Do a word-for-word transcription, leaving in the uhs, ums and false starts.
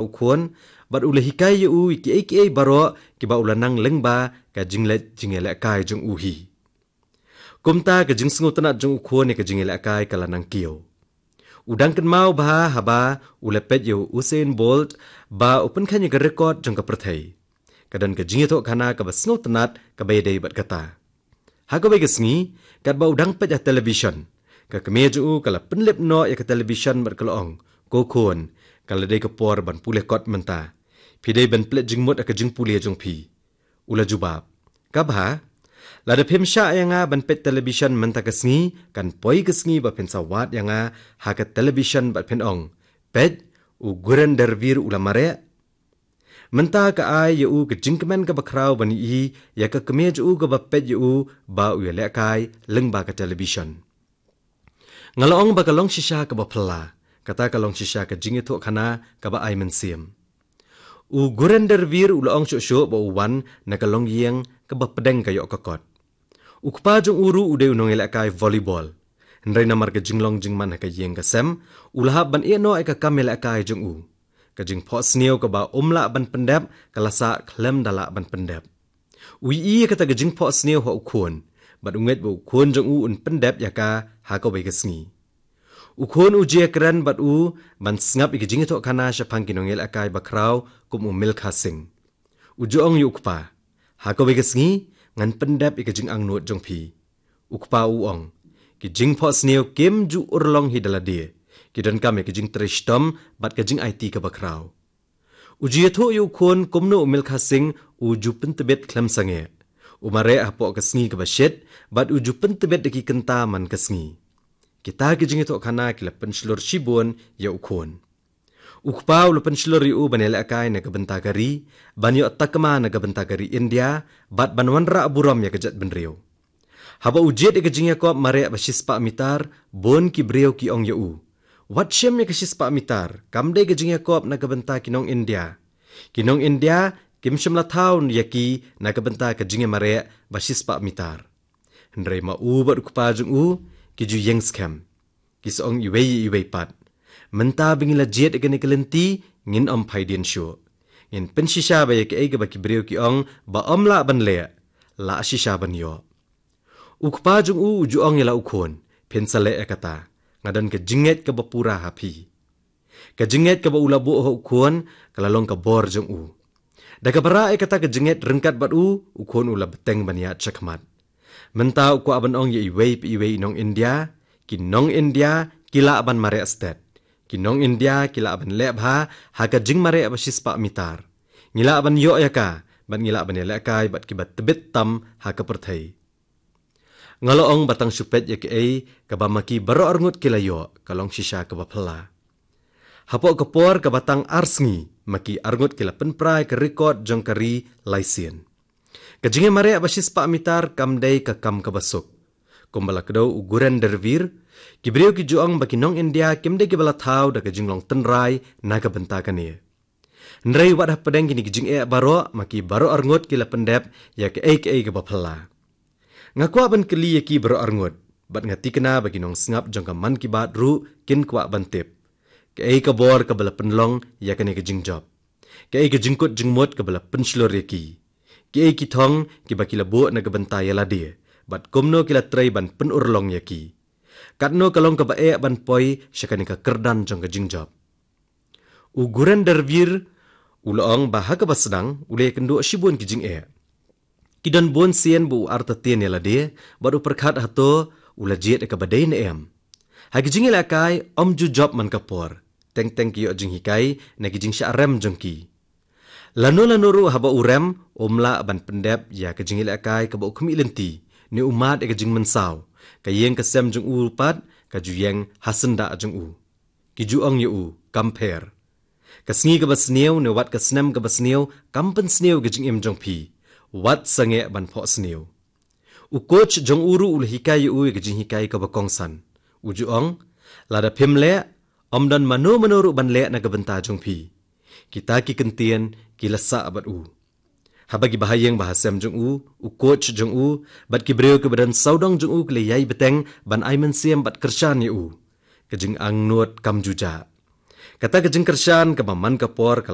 u khun, bad u la hikai ïa u ïa kiei kiei baroh kiba u la nang lyngba ka jingleit jingïalehkai jong u hi. Kumta ka jingsngewtynnat jong u khun ïa ka jingïalehkai ka la nang kiew. U dang kynmaw bha haba u la peit ïa u Usain Bolt ba u pynkheiñ ïa ka record jong ka pyrthei. Ka don ka jingïathuhkhana kaba sngewtynnat kaba ïadei bad kata. Ha kawei ka sngi, katba u dang peit ha television, ka kmie jong u ka la pynlip noh ïa ka television bad ka la ong, "Ko khun, ka la dei ka por ban pule kot mynta. Phi dei ban pynleit jingmut ha ka jingpule jong phi." U la jubab, "Ka bha, lada phim shah ïa nga ban peit television mynta ka sngi, kan poi ka sngi ba phin sa wad ïa nga ha ka television bad phin ong, 'Peit, u Gurinder Vir u la mareh.'" Mynta ka ai ïa u ka jingkmen kaba khraw ban ïohi ïa ka kmie jong u kaba peit ïa u ba u ïalehkai lyngba ka television. Nga la ong ba ka long shisha kaba phylla, kata ka long shisha ka jingïathuhkhana kaba ai mynsiem. U Gurinder Vir u la ong shuh shuh ba u wan na ka longïing kaba pdeng ka ïoh ka kot. U kpa jong u ruh u dei u nongïalehkai volleyball. Hynrei namar ka jinglong jingman ha ka ïing ka sem, u la hap ban ïeh noh ïa ka kam ïalehkai jong u. Ka jingphohsniew kaba um lah ban pyndep ka la sah khlem da lah ban pyndep. U ïohi ïa kata ka jingphohsniew ha u khun, bad u ngeit ba u khun jong u un pyndep ïa ka ha kawei ka sngi. U khun u jia kren bad u ban sngap ïa ka jingïathuhkhana shaphang ki nongïalehkai bakhraw kum u Milkha Singh. U ju ong ïa u kpa, "Ha kawei ka sngi, ngan pyndep ïa ka jingangnud jong phi." U kpa u ong, "Ki jingphohsniew kim ju urlong hi da lade. Ki donkam ïa ka jingtrei shitom bad ka jingaiti kaba khraw." U ju ïathuh ïa u khun kumno u Milkha Singh u ju pyntbit khlem sangeh. U mareh hapoh ka sngi kaba shit, bad u ju pyntbit da ki kynta man ka sngi. Kita ki jingïathuhkhana ki la pynshlur shibun ïa u khun. U kpa u la pynshlur ïa u ban ïalehkai na ka bynta ka ri, ban ïoh takma na ka bynta ka ri India, bad ban wanrah burom ïa ka jaitbynriew. Haba u jied ïa ka jingïakop mareh ba shispah mitar, bun ki briew ki ong ïa u, "Wat shim ïa ka shispah mitar, kam dei ka jingïakop na ka bynta ki nong India. Ki nong India kim shym la thaw ïa ki na ka bynta ka jingïamareh ba shispah mitar." Hynrei ma u bad u kpa jong u ki ju ïeng skhem. Ki sa ong iwei ïa iwei pat, "Mynta ba ngi la jied ïa kane ka lynti, ngin ym phaidien shuh. Ngin pynshisha ba ïa kaei kaba ki briew ki ong ba ym lah ban leh, lah shisha ban ïoh." U kpa jong u u ju ong ïa la u khun, "Phin sa leh ïa kata. Nga don ka jingngeit kaba pura ha phi." Ka jingngeit kaba u la buh ha u khun ka la long ka bor jong u. Da kaba rah ïa kata ka jingngeit ryngkat bad u, u khun u la bteng ban ïaid shakhmat. Mynta u kwah ban ong ïa iwei pa iwei i nong India, ki nong India ki lah ban mareh stet. Ki nong India ki lah ban leh bha ha ka jingmareh ba shispah mitar. Ngi lah ban ïoh ïa ka, bad ngi lah ban ïalehkai bad kiba tbit tam ha ka pyrthei. Nga la ong ba tang shu peit ïa kaei kaba ma ki baroh arngut ki la ïoh, ka long shisha kaba phylla. Hapoh ka por kaba tang ar sngi, ma ki arngut ki la pynpra ïa ka record jong ka ri lai sien. Ka jingïamareh ba shispah mitar kam dei ka kam kaba suk. Kumba la kdew u Gurinder Vir, ki briew ki ju ong ba ki nong India kim dei kiba la thaw da ka jinglong tynrai na ka bynta kane. Hynrei wat hapdeng kine ki jingeh baroh, ma ki baroh arngut ki la pyndep ïa kaei kaei kaba phylla. Nga kwah ban kylli ïa ki baroh arngut, bad nga thikna ba ki nongsngap jong ka Mann Ki Baat ruh kin kwah ban tip, kaei ka bor kaba la pynlong ïa kane ka jingjop? Kaei ka jingkut jingmut kaba la pynshlur ïa ki? Kiei ki thong kiba ki la buh na ka bynta ïa lade, bad kumno ki la trei ban pynurlong ïa ki? Katno ka long kaba eh ban poi sha kane ka kyrdan jong ka jingjop? U Gurinder Vir u la ong ba ha kaba sdang u la ïakynduh shibun ki jingeh. Ki don bun sien ba u artatien ïa lade, bad u pyrkhat hato u la jied ïa kaba dei ne em. Ha ki jingïalehkai ym ju jop man ka por. Teng teng ki ïoh jinghikai na ki jingshah rem jong ki. Lano lano ruh haba u rem, um lah ban pyndep ïa ka jingïalehkai kaba u khmih lynti, ne u mad ïa ka jingmynsaw. Ka ïing ka sem jong u pat ka ju ïeng ha syndah jong u. Ki ju ong ïa u, "Kam pher. Ka sngi kaba sniew ne wat ka snem kaba sniew kam pynsniew ïa ka jingim jong phi. Wat sangeh ban phohsniew." U coach jong u ruh u la hikai ïa u ïa ka jinghikai kaba kongsan. U ju ong, "Lada phim leh, ym don mano mano ruh ban leh na ka bynta jong phi." Kita ki kyntien ki la sah bad u. Haba ki bahaïing bahasem jong u, u coach jong u, bad ki briew kiba don sawdong jong u ki la ïai bteng ban ai mynsiem bad kyrshan ïa u, ka jingangnud kam ju jah. Kata ka jingkyrshan kaba man ka por ka la